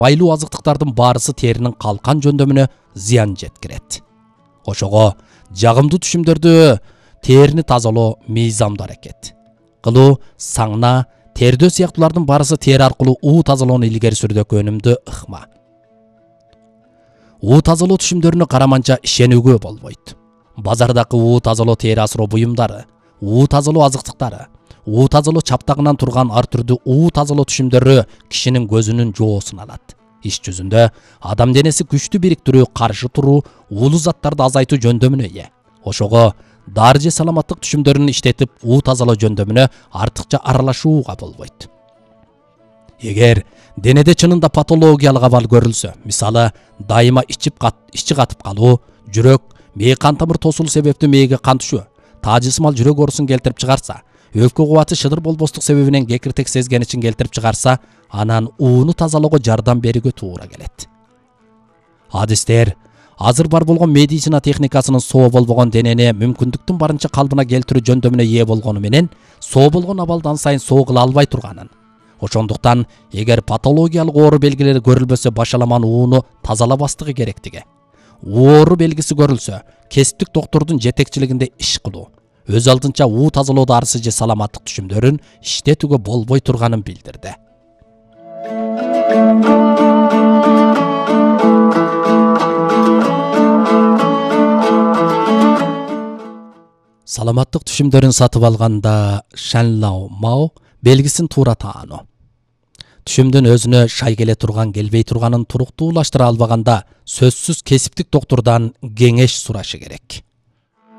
Майлуу азыктыктардын баарысы теринин калкан жөндөмүнө зыян жеткирет. Ошого жагымдуу түшүмдөрдү терини тазалоо мыйзамдуу аракет кылуу, саңна, тердөө сыяктуулардын баарысы тери аркылуу уу тазалоону илгери сүрүүгө өнүмдүү ыкма. Уу тазалоо түшүмдөрүнө караманча ишенүүгө болбойт. Базардагы уу тазалоо тери асыроо буюмдары, уу тазалоо азыктыктары, уу тазалоо чаптагынан турган ар түрдүү уу тазалоо түшүмдөрү кишинин көзүнүн жоосун алат. Иш жүзүндө адам денеси күчтүү бириктирүү, каршы туруу, уулуу заттарды азайтуу жөндөмүнө ээ. Ошого дары же саламаттык түшүмдөрүн иштетип, уу тазалоо жөндөмүнө артыкча аралашууга болбойт. Эгер денеде чынында патологиялык абал көрүлсө, мисалы дайыма ичи катып калуу, жүрөк, мээ кан тамыр тосулуу себептүү мээге кан түшүү, таажысымал жүрөк оорусун келтирип чыгарса, өпкө кубаты шыдыр болбостук себебинен кекиртек сезгеничин келтирип чыгарса, анан ууну тазалоого жардам берүүгө туура келет. Адистер азыр бар болгон медицина техникасынын соо болбогон денени мүмкүндүктүн барынча калыбына келтирүү жөндөмүнө ээ болгону менен, соо болгон абалдан сайын соо кыла албай турганын. Ошондуктан эгер патологиялык оору белгилери көрүлбөсө, башаламан ууну тазалабастыгы керектиги. Оору белгиси көрүлсө, кесиптик доктурдун жетекчилигинде иш кылуу, өз алдынча уу тазалоо дарысы же саламаттык түшүмдөрүн иштетүүгө болбой турганын билдирди. Саламаттык түшүмдөрүн сатып алганда Шанлау Мао белгисин туура таануу. Түшүмдүн өзүнө шай келе турган, келбей турганын туруктуулаштыра албаганда, сөзсүз кесиптик доктурдан кеңеш сурашы керек.